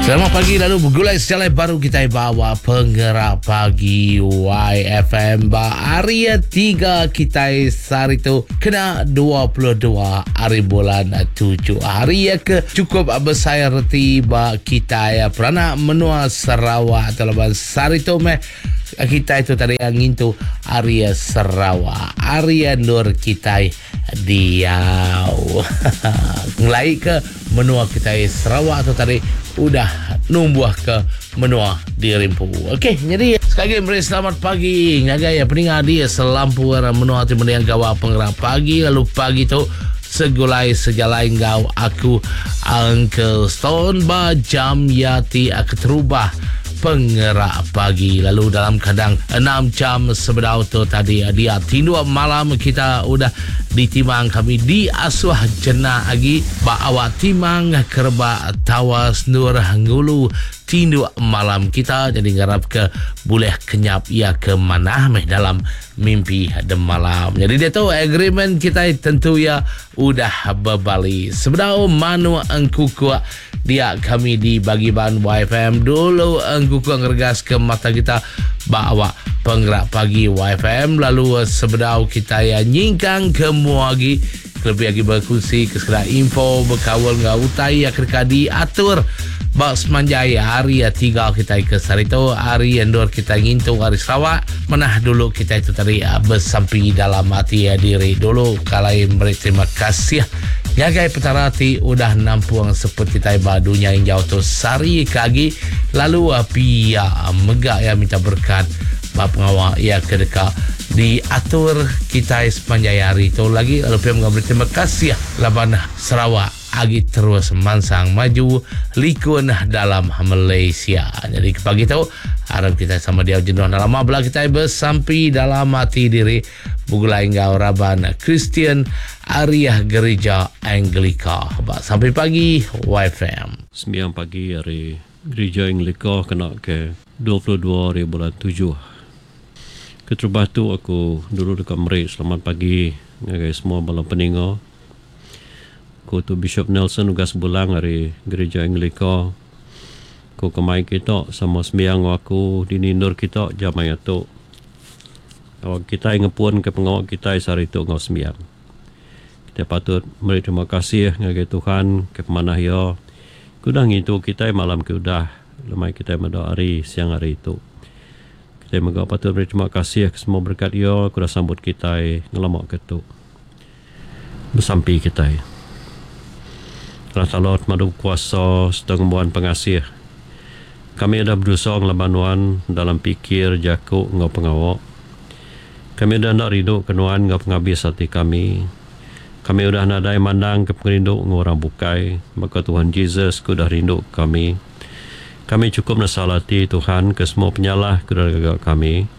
Selamat pagi lalu begulai sejalai baru kita bawa penggerak pagi YFM ba hari 3 kita sehari tu kena 22 hari bulan 7 hari ke cukup besai reti ba kita peranak menua Sarawak atau laban sehari tu meh kita itu tadi ngintu hari Sarawak hari endur kita Diau. Ngelai ke menua kitai Sarawak tu tadi udah numbuh ke menua diri empu. Okey, nyadi sekali lagi meri selamat pagi ngagai peninga di selampur menua ti mending gawa pengerap pagi lalu pagi tu segulai sejalai enggau aku Uncle Stone ba jam ya ti keterubah pengerak pagi lalu dalam kadang 6 jam sebedau tu tadi dia tinduk malam kita udah ditimang kami diasuh jenak agi ba awak timang kerebak tawas nur ngulu tinduk malam kita jadi ngarap ke bulih kenyap iya ke manah meh dalam mimpi demalam. Jadi dia tu agreement kita tentu ya udah bebali. Sebedau manuk engkukuk Dia kami di bagi ban YFM dulu engkukuk ngeregas ke mata kita ba awak penggerak pagi YFM lalu sebedau kita ya nyingkang ke mua agi kelebih agi berkunsi ke sekeda info bekaul enggau utai ya ke deka diatur ba semanjai hari tiga kita ke sehari tu hari endur kita ngintu hari Sarawak manah dulu kita itu tadi besampi dalam ati diri dulu kalai meri terima kasih Ngagai Petara ti udah nampung seput kitai ba dunya injau tu sehari ke agi lalu pia mega iya minta berekat ba pengawa iya ke deka diatur kitai sepanjai hari tu lagi lalu pia mega meri terima kasih laban Sarawak agi terus mansang maju likun dalam Malaysia. Nyadi ke pagi tu arap kitai sama diau jenuh enda lama bela kitai besampi dalam ati diri Begulai enggau raban Kristian ari Gerija Anglika ba Sampai Pagi YFM. Sembiang pagi ari Gerija Anglika kena ke 22 hari bulan tujuh. Keterubah tu aku dulu deka meri selamat pagi ngagai semua bala peninga. Aku tu Bishop Nelson Ugas Bulang ari Gerija Anglika. Ku ke mai kita sama sembiang enggau aku dini endur kita jam maya tu. Awak kitai ngepunka pengawa kitai sehari tu enggau sembiang. Kitai patut meri terima kasih ngagai Tuhan ke pemanah Iya ke udah ngintu kitai malam ke udah lemai kitai meda hari siang hari tu. Kitai mega patut meri terima kasih ke semua berekat Iya ke udah sambut kitai ngelama ke tu. Besampi kitai. Allah Taala ti madu kuasa sereta ngembuan pengasih. Kami udah bedosa ngelaban Nuan dalam pikir, jaku enggau pengawa. Kami udah enda rinduka Nuan enggau pengabis ati kami. Kami udah nadai mandangka pengerindu enggau orang bukai, baka Tuhan Jesus ke udah rinduka kami. Kami chukup nesal ati, Tuhan, ke semua penyalah ke udah digaga kami.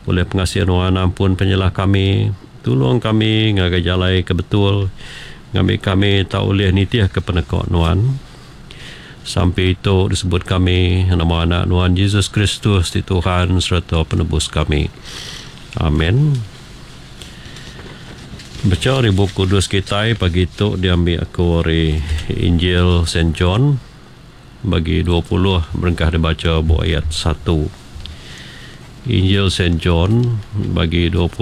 Ulih pengasih Nuan ampun penyalah kami. Tulung kami ngagai jalai ke betul, ngambi kami tau ulih nitihka peneka Nuan. Sampi tu disebut kami nama Anak Nuan Jesus Kristus ti Tuhan sereta Penebus kami. Amen. Bacha ari Bup Kudus kitai pagi tu diambi aku ari Injil Saint John bagi 20 berengkah dibacha ba ayat satu. Injil Saint John bagi 20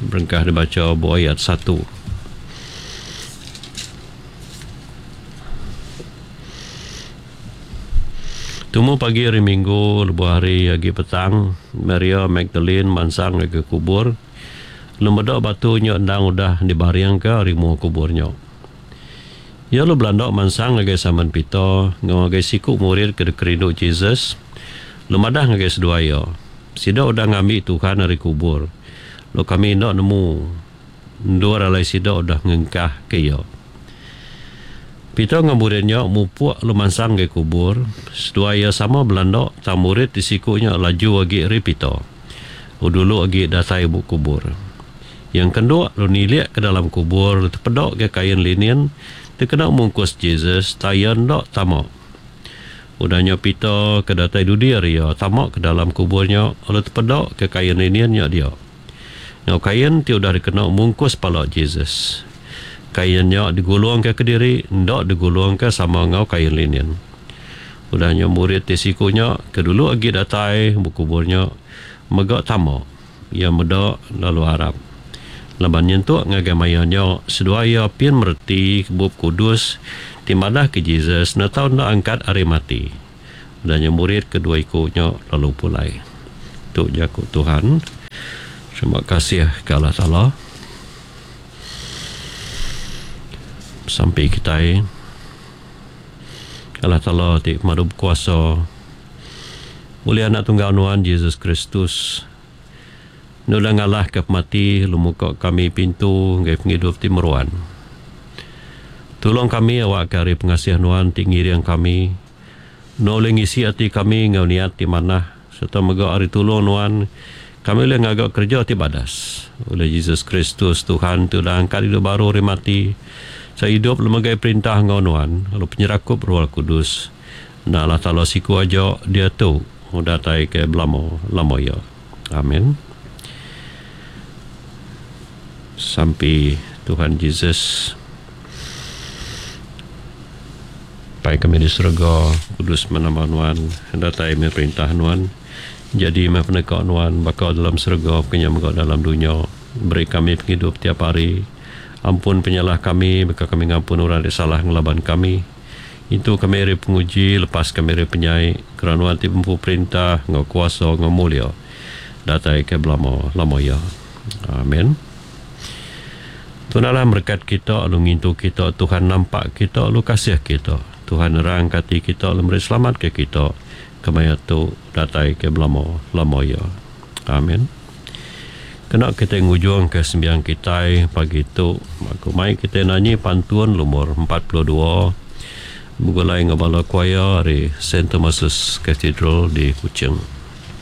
berengkah dibacha ba ayat satu. Tumu pagi hari Minggu lebuh hari agi petang, Maria Magdalin mansang ngagai kubur, lalu meda batu nya endang udah dibaringka ari mua kubur nya. Iya lalu belanda mansang ngagai Simon Peter enggau ngagai siku murid ke dikerindu Jesus, lalu madah ngagai seduai iya, Sida udah ngambi Tuhan ari kubur, lalu kami enda nemu endur alai sida udah ngengkahka iya. Peter enggau murid nya mupuk lalu mansang ngagai kubur. Seduai iya sama belanda tang murid ti siku nya laju agi ari Peter. Lalu dulu agi datai ba kubur. Iya engkenduk lalu nilik ke dalam kubur lalu tepeda ga kain linin ti kena mungkus Jesus tang iya enda tama. Udah nya Peter ke datai dudi ari iya tama ke dalam kubur nya lalu tepeda ke kain linin nya dia. Enggau kain ti udah dikena mungkus pala Jesus. Kain nya digulungka kediri, enda digulungka sama enggau kain linin. Udah nya murid ti siku nya ke dulu agi datai ba kubur nya mega tama. Iya meda lalu arap. Laban nyentuk ngagai maya nya seduai iya pin mereti Bup Kudus ti madahka Jesus enda tau enda angkat ari mati. Udah nya murid ke dua iku nya lalu pulai. Tu jaku Tuhan. Terima kasih ke Allah Taala. Sampi kitai. Allah Taala ti pemadu bekuasa, ulih Anak Tunggal Nuan Jesus Kristus, nulung ngalahka pemati lalu muka kami pintu ngagai pengidup ti meruan. Tulung kami awakka ari pengasih Nuan ti ngiring kami, Nuan ulih ngisi ati kami enggau niat ti manah sereta mega ari tulung Nuan kami ulih ngaga kereja ti badas. Ulih Jesus Kristus Tuhan ti udah angkat idup baru ari mati, sereta idup lalu megai perintah enggau Nuan lalu penyerakup Roh Kudus enda Allah Taala siku aja diatu datai ke belama lama iya. Amin. Sampi Tuhan Jesus. Pai kami di serega, kudus meh nama Nuan, datai meh perintah Nuan, jadi meh peneka Nuan baka dalam serega baka nya mega dalam dunya. Beri kami pengidup tiap hari. Ampun penyalah kami baka kami ngampun orang ti salah ngelaban kami. Intu kami ari penguji, lepas kami ari penyai, keran Nuan ti bempu perintah enggau kuasa enggau mulia datai ke belama lama iya. Amen. Tuhan Allah merekat kita lalu ngintu kita, Tuhan nampak kita lalu kasih kita, Tuhan nerangka ati kita lalu meri selamat ke kita kemaya tu datai ke belama lama iya. Amen. Kena kitai ngujungka sembiang kitai pagi tu, aku mai kitai nanyi pantun lumur 42 begulai enggau bala choir ari Saint Thomas's Cathedral di Kuching.